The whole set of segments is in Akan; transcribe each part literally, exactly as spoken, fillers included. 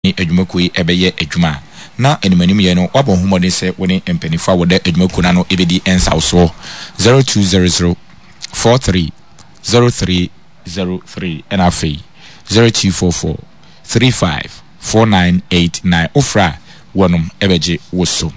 Ne adwumakuo yi bɛyɛ adwuma a, na animanimyɛ no woabɔ ho mmɔden sɛ wo ne mpanimfoɔ a wɔda adwumakuo no ano bɛdi nsawosoɔ. zero two zero zero four three zero three zero three ɛna afei zero two four four three five four nine eight nine. Wofrɛ a wɔnom bɛgye wo so.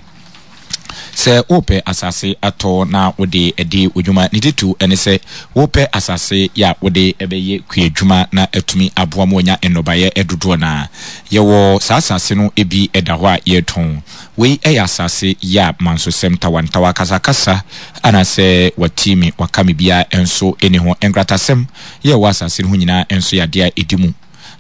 Sɛ worepɛ asase atɔ na wode adi wo dwuma, ne titiriw ne sɛ worepɛ asase a wode bɛyɛ kuadwuma na atumi aboa ma woanya nnɔbaeɛ dodoɔ no ara. Yɛwɔ saa asase no bi da hɔ a yɛretɔn. Wei yɛ asase a mansosɛm, ntawantawa, akasakasa anaasɛ wɔate me, wɔaka me biara nso nni ho. Nkratasɛm yɛ ɛwɔ asase no ho nyinaa nso yɛ adeɛ a ɛdi mu.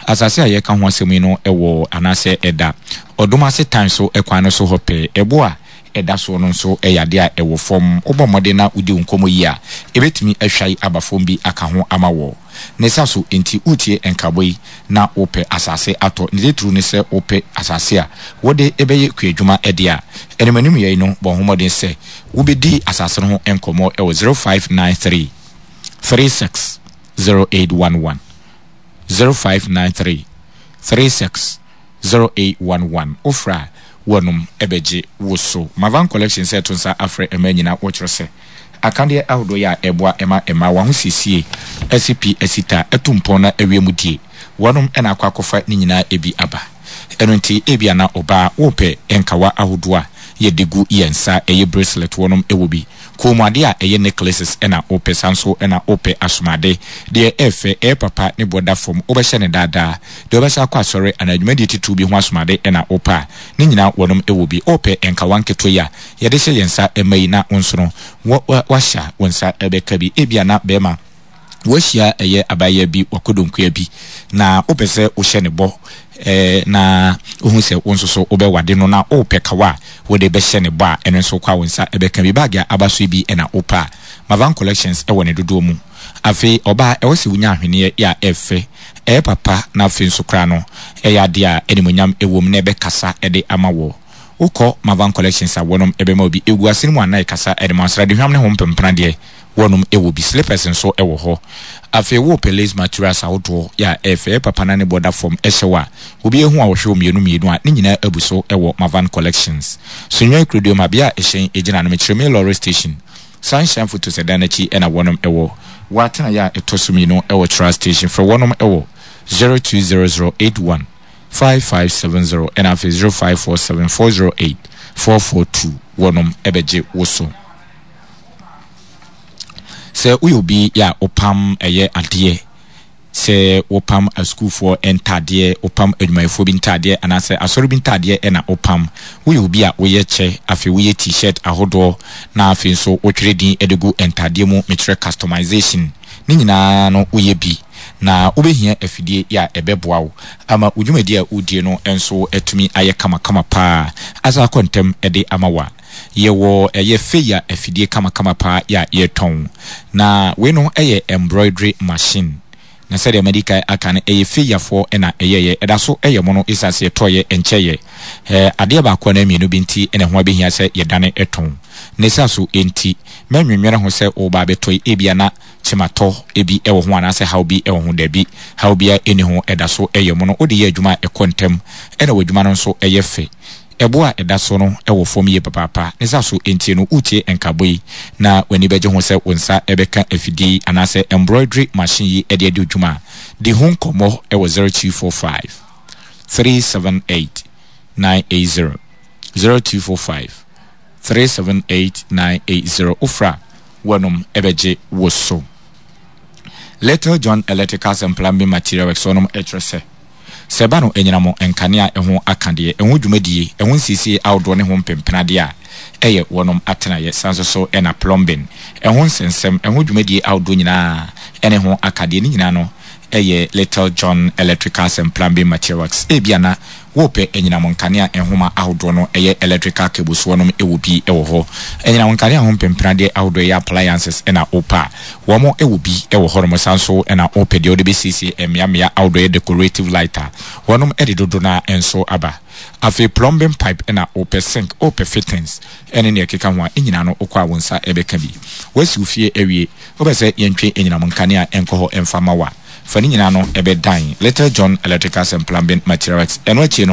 Asase a yɛreka ho asɛm yi no wɔ anaasɛ ɛda Ɔdom ase tan so kwan no so hɔ pɛɛ. Ɛbo a ɛda soɔ no nso yɛ adeɛ a ɛwɔ fam. Wobɔ mmɔden na wodi wo nkɔmmɔ yie a, ɛbɛtumi ahwae aba fam bi aka ho ama wɔ. Ne sa so nti, woretie nkaabɔ yi na wopɛ asase atɔ, ne titiriw ne sɛ wopɛ asase a wode bɛyɛ kuadwuma deɛ a, animanimyɛ yi no, bɔ ho mmɔden sɛ wobɛdi asase no ho nkɔmmɔ wɔ zero five nine three three six zero eight one one. zero five nine three three six zero eight one one Wofrɛ a, wɔnom bɛgye wo so. Mavan Collection sɛ ɛto nsa afrɛ mmaa nyinaa wɔkyerɛ sɛ akadeɛ ahodoɔ yi a ɛboa ma mmaa wɔn ahosiesie asi pi asi ta atu mpɔn na awie mu die wɔnom na akɔ akɔfa ne nyinaa bi aba. Ɛno nti ebia na ɔbaa wopɛ nkawa ahodoɔ a yɛde gu yɛn nsa ɛyɛ bracelet wɔnom wɔ bi. Kɔnmuade a ɛyɛ necklaces na wopɛ saa nso na wopɛ asomade. Deɛ ɛyɛ fɛ, ɛyɛ papa, ne boɔ da fam, wobɛhyɛ no daa daa. Deɛ wobɛhyɛ akɔ asɔre anaa dwumadie titiriw bi ho asomade na wopɛ a, ne nyinaa wɔnom wɔ bi. Wopɛ nkawa nketewa yi a yɛde hyɛ yɛn nsa ma yi na wo nso no woahyɛ a, wo nsa bɛka bi. Ebia na barima woahyia ɛyɛ abaayewa bi, w'akodonkua bi, na wopɛ sɛ wohyɛ ne bɔ eh, na wohu sɛ wo nso so wobɛwade no na wopɛ kawa a wode bɛhyɛ ne bɔ a, ɛno nso kɔ a wo nsa bɛka bi. Baage a aba so yi bi na wopɛ a, Mavan Collections wɔ ne dodoɔ mu. Afei ɔbaa, ɛwɔ sɛ wonya ahweneɛ a ɛfɛ, ɛyɛ papa na afei nso koraa no ɛyɛ adeɛ a animuonyam wɔ mu na ɛbɛkasa de ama wɔ. Wokɔ Mavan Collections a wɔnom bɛma wo bi. Ɛgu asene mu a na ɛkasa de ma wo. Sradehwam ne ho mpempena deɛ wɔnom wɔ bi. Slippers nso wɔ hɔ. Afei wopɛ lace materials ahodoɔ yɛ a ɛyɛ fɛ, ɛyɛ papa na ne bɔ da fam hyɛ wo a, obi ahu a ɔhwɛ wo mmienu mmienu a, ne nyinaa abu so wɔ Mavan Collections. Sunyani Kuroduom a bea a ɛhyɛn gyina no, mekyerɛ me lorry station, Sunshine Photos ɛdan no akyi na wɔnom wɔ. Wɔ atenaeɛ a ɛtɔ so mmienu wɔ Tra Station, frɛ wɔnom wɔ zero two zero zero eight one five five seven zero ɛna afei zero five four seven four zero eight four four two wɔnom bɛgye wo so. Sɛ woyɛ obi a wopam ɛyɛ adeɛ, sɛ wopam asukuufoɔ ntaadeɛ, wopam adwumayɛfoɔ bi ntaadeɛ anaasɛ asɔre bi ntaadeɛ ɛna wopam. Woyɛ obi a woyɛ kyɛ, afei woyɛ t-shirt ahodoɔ na afei nso wotwerɛ din de gu ntaadeɛ mu, mekyerɛ customization, ne nyinaa no woyɛ bi. Na wobɛhia afidie a ɛbɛboa wo ama wo dwumadie a wodie no nso atumi ayɛ kamakama paa asan akɔ ntɛm de ama wo a. Yɛwɔ ɛyɛ Feya afidie kamakama paa yɛ a yɛtɔn. Na wei no yɛ embroidery machine. Na sɛdeɛ madi kan aka no, ɛyɛ Feyafoɔ na ɛyɛeɛ. Ɛda so yɛ mono ɛsiane sɛ yɛtɔeɛ nkyɛeɛ. Ɛɛ adeɛ baako anaa mmienu bi nti na ɛho abɛhia sɛ yɛdane tɔn. Ne saa so nti, mɛnwennwene ho sɛ woreba abɛtɔ yi, ebia na kyematɔ bi wɔ ho anaasɛ haw bi wɔ ho. Dabi, haw biara nni ho. Ɛda so yɛ mono. Wode yɛ adwuma a ɛkɔ ntɛm, ɛna w'adwuma no nso yɛ fɛ. Ɛbo a ɛda so no wɔ fam yie papaapa. Ne sa so nti no, woretie nkaabɔ yi na w'ani bɛgye ho sɛ wo nsa bɛka afidie yi anaasɛ embroidery machine yi de adi wo dwuma a, di ho nkɔmmɔ wɔ zero two four five three seven eight nine eight zero, zero two four five three seven eight nine eight zero. Wofrɛ a, wɔnom bɛgye wo so. Little John Electricals and Plumbing Material Works wɔnom kyerɛ sɛ, Sɛ ɛba no anyinam nkanea a ɛho aka deɛ, ɛho dwumadie, ɛho nsiesie ahodoɔ ne ho mpempenadeɛ a ɛyɛ wɔnom atenaeɛ, san nso so na plumbing, ɛho nsɛnsɛm, ɛho dwumadie ahodoɔ nyinaa ne ho aka deɛ, ne nyinaa no yɛ Little John Electricals and Plumbing Materials. Ebia na worepɛ anyinam nkanea nhoma ahodoɔ no, ɛyɛ electrical cables, wɔnom wɔ bi wɔ hɔ. Anyinam nkanea ho mpempenadeɛ ahodoɔ, ɛyɛ appliances na wopɛ a, Wɔn wɔ bi wɔ hɔnom san nso na wɔpɛ deɛ wɔde bɛsiesie mmeammea ahodoɔ yɛ decorative light a, wɔnom de dodo no ara nso aba. Afei plumbing pipe na wopɛ sink, wopɛ fittings ne nea ɛkeka ho a, ne nyinaa no wokɔ a wo nsa bɛka bi. Woasi wo fie awie, wopɛ sɛ yɛntwe anyinam nkanea nkɔ hɔ mfa ma wo a, Fa ne nyinaa no ɛbɛdan Little John Electricals and Plumbing Materials. Ɛno akyi no,